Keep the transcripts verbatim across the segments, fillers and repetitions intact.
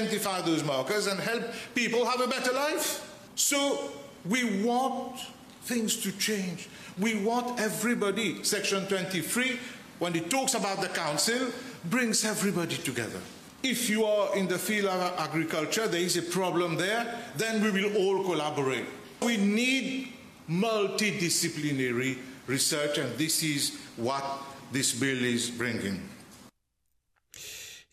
identify those markers and help people have a better life. So we want things to change. We want everybody. Section twenty-three, when it talks about the council, brings everybody together. If you are in the field of agriculture, there is a problem there, then we will all collaborate. We need multidisciplinary research, and this is what this bill is bringing.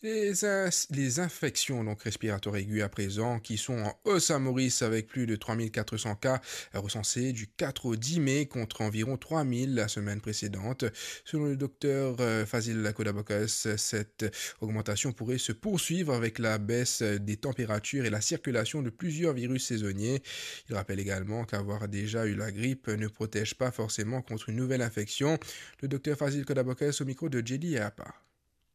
Les ins-, les infections donc respiratoires aiguës à présent qui sont en hausse à Maurice avec plus de trois mille quatre cents cas recensés du quatre au dix mai contre environ trois mille la semaine précédente. Selon le docteur, euh, Fazil Kodabakos, cette augmentation pourrait se poursuivre avec la baisse des températures et la circulation de plusieurs virus saisonniers. Il rappelle également qu'avoir déjà eu la grippe ne protège pas forcément contre une nouvelle infection. Le docteur Fazil Kodabakos au micro de Jelly Apa.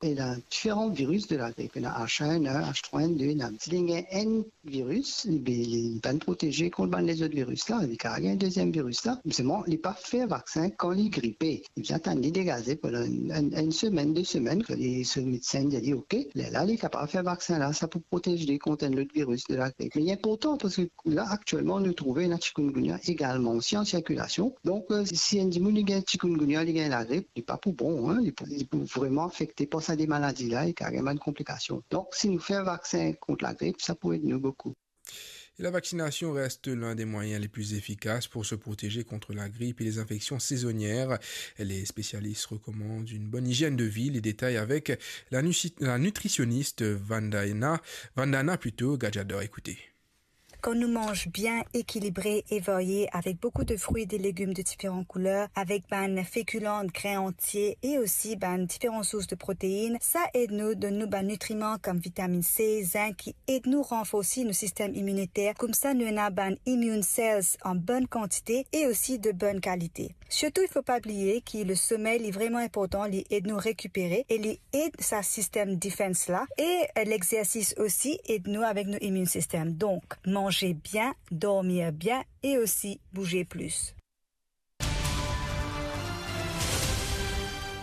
Ena diferan viris de lagrip. Ena H un N un, H trois N deux, ena. Si li gagn enn viris, li, li, li pa proteze kont bann lezot viris la, li kapav gagn deziem viris la. Me selman, li pa fer vaksin kan li gripe. Li bizin atann li degaze pandan enn, enn, enn semenn, de semenn, kan li, so medsin dir li, "Ok, lerla li kapav fer vaksin la, sa pou protez li kont enn lot viris de lagrip." Me li inportan, parski la, aktielman, nou trouve ena chikungunya egalman osi an sirkilasion. Donk, euh, si enn dimoun li gagn chikungunya, li gagn lagrip, li pa pou bon, hein, li pou, li pou vreman afekte par sa de maladi la, e kapav gagn bann konplikasion. Donk, si nou fer vaksin kont lagrip, sa pou ed nou boukou. Et la vaccination reste l'un des moyens les plus efficaces pour se protéger contre la grippe et les infections saisonnières. Les spécialistes recommandent une bonne hygiène de vie. Les détails avec la nuci-, la nutritionniste Vandana, Vandana plutôt, Gadjador. Écoutez. Kan nou manz bien, ekilibre e varie, avek boukou de frwi, de legim de diferan kouler, avek bann fekilan, grin antie e osi bann diferan sours de protein, sa ed nou donn nou bann nitriman kom vitamin C, zink, ki ed nou ranforsi nou sistem iminiter, koumsa nou ena bann immune cells an bonn kantite e osi de bonn kalite. Sirtou, il faut pas oublier que le sommeil est vraiment important, li ed nou rekipere e li ed sa sistem defense la, e, euh, l'exercice aussi ed nou avek nou immune system. Donc, manger bien, dormir bien et aussi bouger plus.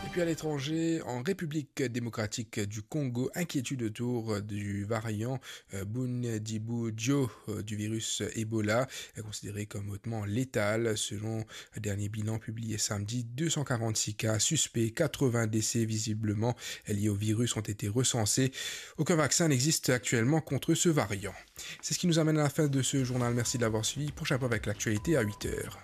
Et puis à l'étranger, en République démocratique du Congo, inquiétude autour du variant, euh, Bundibugyo, euh, du virus Ebola, est considéré comme hautement létal. Selon un dernier bilan publié samedi, deux cent quarante-six cas suspects, quatre-vingts décès visiblement liés au virus ont été recensés. Aucun vaccin n'existe actuellement contre ce variant. C'est ce qui nous amène à la fin de ce journal. Merci de l'avoir suivi. Prochain point avec l'actualité à huit heures.